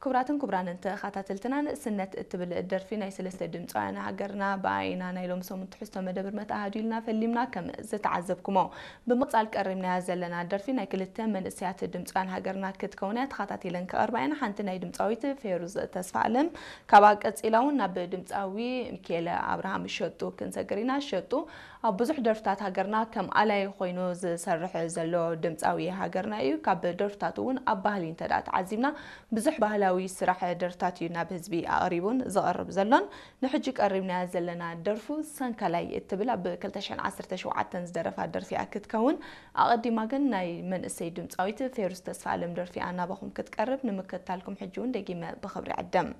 ክቡራትን ክቡራንን ተኸታተልትና፣ ንእስነት እትብል ደርፊ ናይ ሰለስተ ድምፃውያን ሃገርና ብኣይና ናይ ሎም ሰሙን ትሕዝቶ መደብር መተኣሃዱ ኢልና ፈሊምና። ከም ዝተዓዘብኩሞ ብምቕፃል ቀሪብናያ ዘለና ደርፊ ናይ ክልተ መንእሰያት ድምፃውያን ሃገርና ክትከውን እያ። ተኸታቲለን ክቐርባ እየን። ሓንቲ ናይ ድምፃዊት ፌሩዝ ተስፋ ኣለም፣ ካብኣ ቀፂላ እውን ናብ ድምፃዊ ሚካኤለ ኣብርሃም ሸጡ ክንሰግር ኢና። ሸጡ ኣብ ብዙሕ ደርፍታት ሃገርና ከም ኣላይ ኮይኑ ዝሰርሕ ዘሎ ድምፃዊ ሃገርና እዩ። ካብ ደርፍታቱ እውን ኣብ ባህሊ እንተ ደኣ ተዓዚብና ብዙሕ ባህላዊ ስራሕ ደርፍታት እዩ ናብ ህዝቢ ኣቕሪቡን ዝቐርብ ዘሎን። ንሕጂ ቀሪብናያ ዘለና ደርፉ ሰንካላይ እትብል ኣብ ክልተ ሽሕን ዓሰርተ ሸውዓተን ዝደረፋ ደርፊ እያ ክትከውን። ኣቐዲማ ግን ናይ መንእሰይ ድምፃዊት ፌሩዝ ተስፋ ኣለም ደርፊ ኣናባኹም ክትቀርብ ንምክትታልኩም ሕጂ እውን ደጊመ ብኽብሪ ዕደም።